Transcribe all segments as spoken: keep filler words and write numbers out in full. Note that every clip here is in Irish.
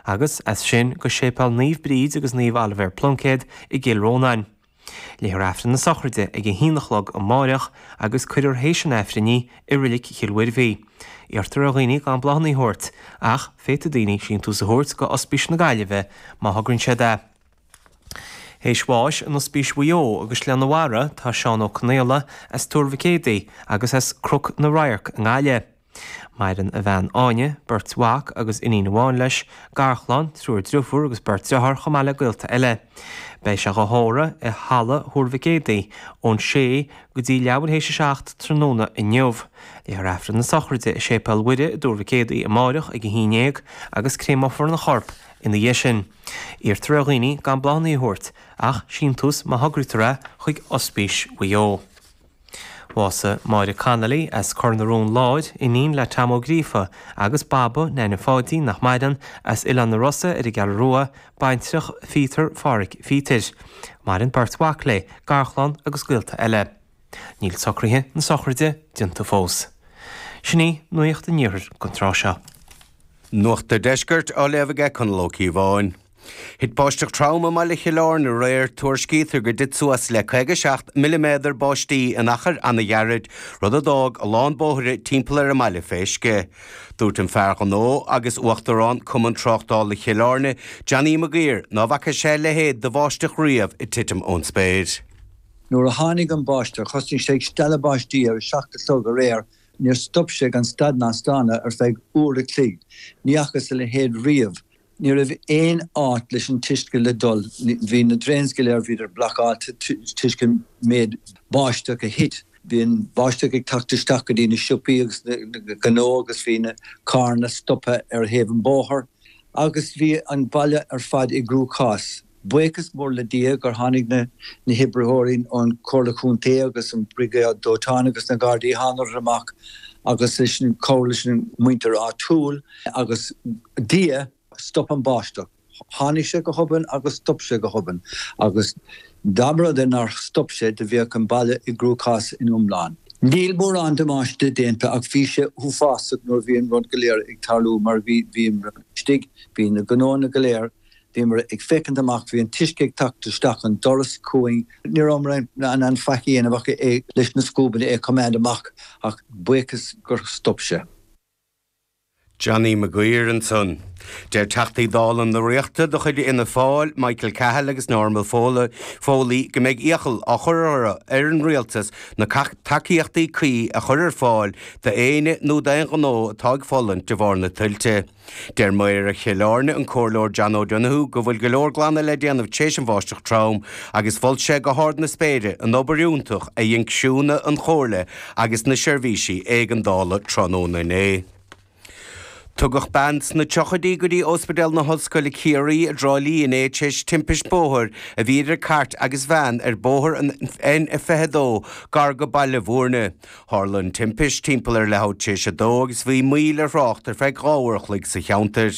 agus as sin go Séipéal Naomh Bríd agus Naomh Oilibhéar Pluincéad i gCill Rónáin. Léifear Aifreann na sochraide ag a haon a chlog amárach agus cuirfear théis an Aifrinn í i Reilig Chill Mhuirbhigh. Iarrtar ar dhaoine gan bláthanna a thabhairt, ach féadfaidh daoine síntiús a thabhairt go Ospís na Gaillimhe má thograíonn siad é. Théis bháis in Ospís Mhaigh Eo agus Gleann Mhara tá Seán Ó Conaola as Tuar Mhic Éadaigh agus as Cnoc na Radharc i nGaillimh. Maireann a bhean Áine, beirt mhac agus iníon amháin leis, garchlann, triúr deirfiúr agus beirt deartháir chomh maith le gaolta eile. Beidh sé á thórramh i halla Thuar Mhic Éadaigh ón sé go dtí leathuair théis a seacht tráthnóna inniu. Léifear Aifreann na sochraide i Séipéal Mhuire i dTuar Mhic Éadaigh amárach ag a haon déag agus créamófar an chorp ina dhiaidh sin. Iarrtar ar dhaoine gan bláthanna a thabhairt, ach síntiús má thograítear é chuig Ospís Mhaigh Eo. Bhásaigh Máire Connolly as Cor na Rón Láir, iníon le Tom Ó Gríofa agus Baba Neaine Pháidín nach maireann as Oileán na Rosa ar an gCeathrú Rua, baintreach Phíotar Pháraic Phíotair. Maireann beirt mhac léi, garchlann agus gaolta eile. Níl socruithe na sochraide déanta fós. Sin í nuacht an iarthair don tráth seo. Nuacht an Deiscirt á léamh aige Conall Ó Cíobháin. Thit báisteach trom i mbaile Chill Airne aréir tuairiscítear gur thit suas le caoga seacht milliméadar báistí in achar an-ghairid, rud a d'fhág a lán bóithre timpeall ar an mbaile fé uisce. Dúirt an fear gnó agus uachtarán Cumann Tráchtála Chill Airne, Johnny Maguire, ná bhfaca sé a leithéid de bháisteach riamh ag titim ón spéir. Nuair a tháinig an báisteach, thosaigh sé ag stealladh báistí ar a seacht a chlog aréir, níor stop sé gan stad ná staonadh ar feadh uair a chloig. Ní fhacthas a leithéid riamh. Ní raibh aon áit leis an t-uisce le dul. Bhí na drains go léir, bhíodar blocáilte toisc an méid báisteach a thit. Bhí an báisteach ag teacht isteach go dtí na siopaí agus na gnó agus bhí na carranna stoptha ar thaobh an bóthair agus bhí an baile ar fad i gcruachás. Buíochas mór le Dia gur tháinig na na hoibritheoirí ón Chomhairle Chontae agus an Briogáid Dóiteáin agus na Gardaí thánadar amach agus leis an cabhair leis an muintir áitiúil agus Dia stop an báisteach. Tháinig sé go hobann agus stop sé go hobann agus dá mba rud é nár stop sé do bheadh an baile i gcruachás in iomlán. Níl mórán damáiste déanta ach bhí sé uafásach nuair a bhí an rud go léir ag tarlú mar bhí bhíomar istigh, bhí na gnóanna go léir, bhíomar ag féachaint amach, bhí an t-uisce ag teacht isteach an doras chugainn, ní rabhamar in ann faic a dhéanamh ach é leis na scuabanna é a choimeád amach ach buíochas gur stop sé. Johnny Maguire ansan. Deir Teachtaí Dála na Ríochta de chuid Fhianna Fáil, Michael Cahill agus Norma Foley go mbeidh iachall á chur orthu ar an rialtas na tacaíochtaí cuí a chur ar fáil d'éinne nó d'aon ghnó atá ag fulaingt de bharr na tuilte. Deir Méara Chill Airne an Comhairleoir John O'Donoghue go bhfuil go leor glanadh le déanamh tar éis an bháisteach trom agus mhol sé go hard na spéire an obair iontach a dhein criúnna an chomhairle agus na seirbhísí éigeandála tráthnóna inné. Tugadh bean sna tríochaidí go dtí Ospidéal na hOllscoile Ciarraí i dTrá Lí inné tar éis timpist bóthair a bhí idir cairt agus veain ar bóthar an N fiche dó gar go Baile Bhúirne. Tharla an timpist timpeall ar leathuair tar éis a dó agus bhí moill ar thrácht ar feadh dhá uair a chloig sa cheantar.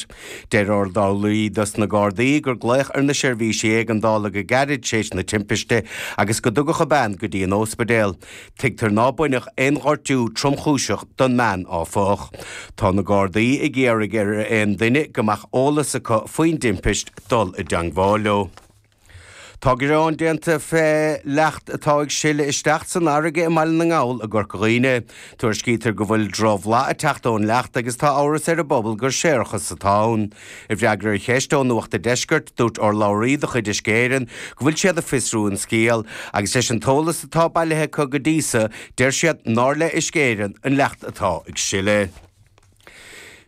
Deir urlabhraí dos na Gardaí gur glaodh ar na seirbhísí éigeandála go gairid tar éis na timpiste agus go dtugadh an bean go dtí an ospidéal. Tuigtear ná baineadh aon ghortú tromchúiseach don mbean áfach. Tá na Gardaí ag iarraidh ar aon duine go mbeadh eolas acu faoin dtimpist dul i dteagmháil leo. Tá gearán déanta fé leacht atá ag sileadh isteach san fharraige i mBaile na nGall i gCorca Dhuibhne. Tuairiscítear go bhfuil drochbhlas ag teacht ón leacht agus tá amhras ar an bpobal gur séarachas atá ann. I bhfreagra ar cheist ó Nuacht an Deiscirt, dúirt urlabhraí de chuid Uisce Éireann go bhfuil siad ag fiosrú an scéal, agus leis an t-eolas atá bailithe acu go dtí seo, deir siad nár le Uisce Éireann an leacht atá ag sileadh.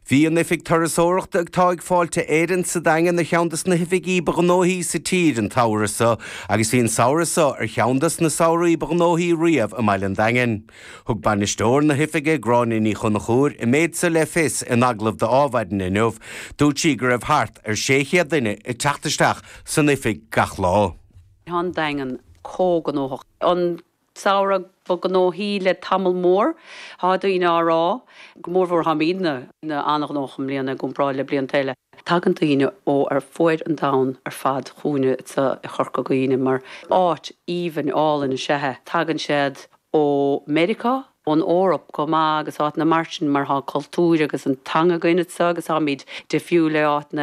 Bhí an oifig turasóireachta atá ag Fáilte Éireann sa Daingean ar cheann des na hoifigí ba ghnóthaí sa tír an tsamhradh seo agus bhí an samhradh seo ar cheann des na samhraí ba ghnóthaí riamh i mBaile an Daingin. Thug bainisteoir na hoifige Gráinne Ní Chonchúir an méid seo le fios in agallamh d'Adhmhaidin inniu, dúirt sí go raibh thart ar sé chéad duine ag teacht isteach san oifig gach lá. Tá an Daingean chomh gnóthach. An samhradh ba ghnóthaí le tamall mór, tá daoine á rá, go mórmhór táimidne an-ghnóthach i mbliana i gcomparáid le blianta eile. Tagann daoine ó ar fuaid an domhain ar fad chugainne i Corca Dhuibhne mar áit aoibhinn álainn is ea é. Tagann siad ó Meiriceá, ón Eoraip chomh maith agus áiteanna mar sin mar tá cultúr agus an teanga againn anseo agus táimid difriúil le áiteanna